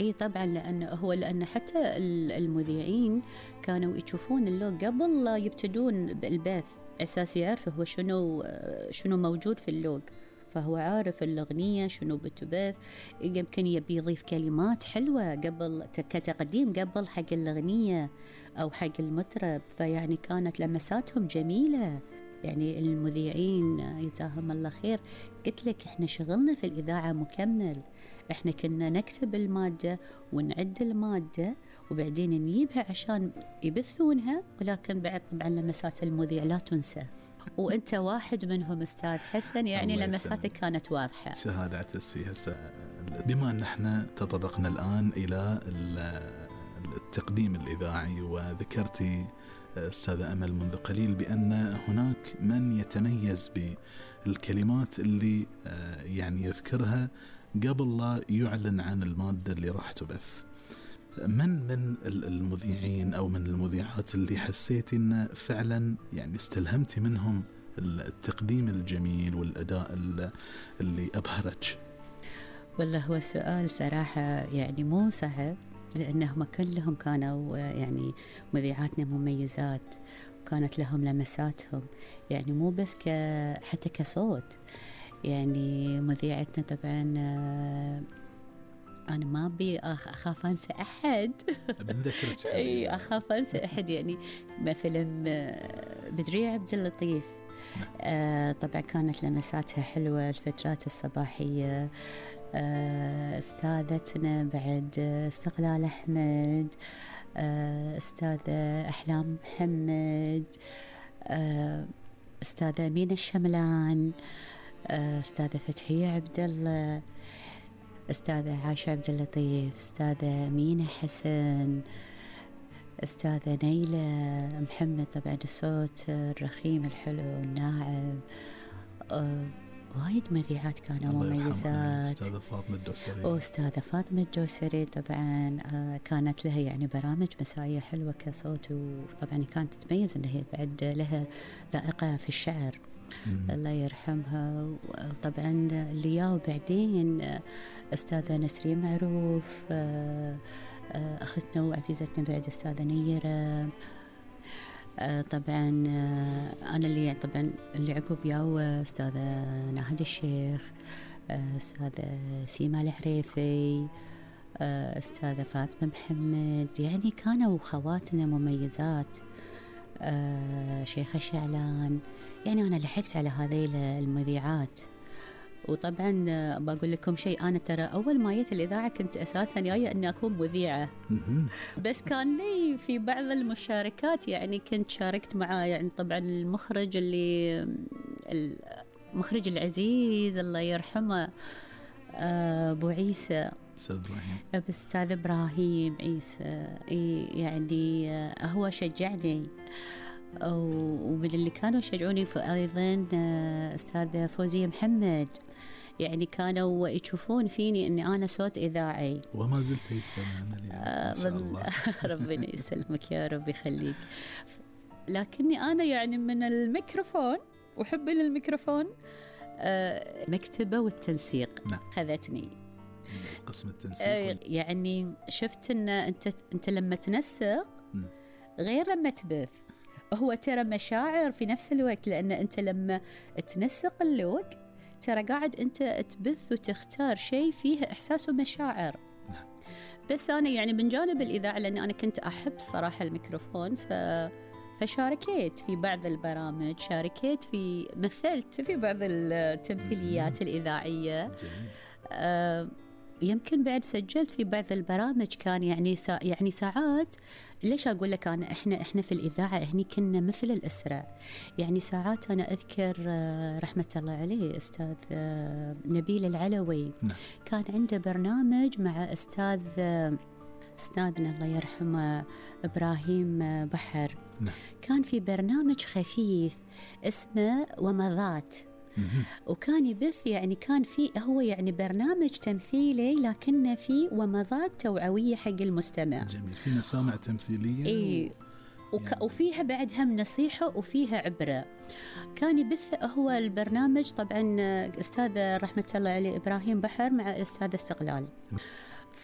اي طبعا، لأن حتى المذيعين كانوا يشوفون اللوج قبل لا يبتدون بالبث، أساس يعرف هو شنو موجود في اللوج، فهو عارف الأغنية شنو بتبث، يمكن يبي يضيف كلمات حلوة قبل كتقديم قبل حق الأغنية أو حق المطرب، فيعني كانت لمساتهم جميلة. يعني المذيعين يجزاهم الله خير، قلت لك احنا شغلنا في الإذاعة مكمل، احنا كنا نكتب المادة ونعد المادة وبعدين نجيبها عشان يبثونها، ولكن بعد طبعا لمسات المذيع لا تنسى، وانت واحد منهم استاذ حسن، يعني لمساتك كانت واضحة. شهادة اعتز فيها. بما ان احنا تطرقنا الآن إلى التقديم الإذاعي، وذكرتي أستاذة أمل منذ قليل بأن هناك من يتميز بالكلمات اللي يعني يذكرها قبل لا يعلن عن المادة اللي راح تبث. من المذيعين أو من المذيعات اللي حسيتي أن فعلا يعني استلهمتي منهم التقديم الجميل والأداء اللي أبهرك؟ والله هو سؤال صراحة يعني مو صعب، لأنهم كلهم كانوا يعني مذيعاتنا مميزات، وكانت لهم لمساتهم، يعني مو بس حتى كصوت. يعني مذيعتنا طبعا أنا ما أبي أخاف أنسى أحد بنذكرك أي أخاف أنسى أحد، يعني مثلا بدرية عبد اللطيف طبعا كانت لمساتها حلوة الفترات الصباحية. أستاذتنا بعد استقلال أحمد، أستاذة أحلام محمد، أستاذة أمينة الشملان، أستاذة فتحية عبد الله، أستاذة عاشة عبد اللطيف، أستاذة أمينة حسن، أستاذة نيلة محمد، طبعا الصوت الرخيم الحلو الناعم. وايد مذيعات كانوا مميزات. أستاذة فاطمة الدوسري، وأستاذة فاطمة الدوسري طبعا كانت لها يعني برامج مسائية حلوة كصوت، وطبعا كانت تتميز أنها بعد لها ذائقة في الشعر الله يرحمها. وطبعا اللي بعدين أستاذة نسرين معروف، أختنا وعزيزتنا بعد أستاذة نيرة. طبعا أنا اللي يعني طبعا اللي عقب ياو أستاذة ناهد الشيخ، أستاذة سيما الحريثي، أستاذة فاطمة محمد، يعني كانوا خواتنا مميزات. شيخة شعلان، يعني أنا لحقت على هذه المذيعات. وطبعا بقول لكم شيء، أنا ترى أول ما جيت الإذاعة كنت أساسا جاية أني أكون مذيعة، بس كان لي في بعض المشاركات، يعني كنت شاركت مع يعني طبعا المخرج المخرج العزيز الله يرحمه أبو عيسى، أستاذ إبراهيم عيسى، يعني هو شجعني، ومن اللي كانوا يشجعوني أيضا أستاذة فوزية محمد، يعني كانوا يشوفون فيني أني أنا صوت إذاعي، وما زلت يسمعنا ما شاء الله. ربنا يسلمك يا رب يخليك. لكني أنا يعني من الميكروفون وحبي للميكروفون مكتبة والتنسيق خذتني قسم التنسيق. يعني شفت أن أنت لما تنسق غير لما تبث، هو ترى مشاعر في نفس الوقت، لأن أنت لما تنسق اللوج ترى قاعد أنت تبث وتختار شيء فيه إحساس ومشاعر. بس أنا يعني من جانب الإذاعة، لأن أنا كنت أحب صراحة الميكروفون، فشاركت في بعض البرامج، مثلت في بعض التمثيليات الإذاعية. يمكن بعد سجلت في بعض البرامج، كان يعني ساعات. ليش أقول لك إحنا في الإذاعة هني كنا مثل الأسرة، يعني ساعات أنا أذكر رحمة الله عليه أستاذ نبيل العلوي، كان عنده برنامج مع أستاذنا الله يرحمه إبراهيم بحر، كان في برنامج خفيف اسمه ومضات، وكان يبث يعني كان فيه هو يعني برنامج تمثيلي لكنه فيه ومضات توعوية حق المستمع. جميل، في مسامع تمثيلية يعني وفيها بعد هم نصيحة وفيها عبرة. كان يبث هو البرنامج طبعا أستاذ رحمة الله عليه إبراهيم بحر مع أستاذ استقلال.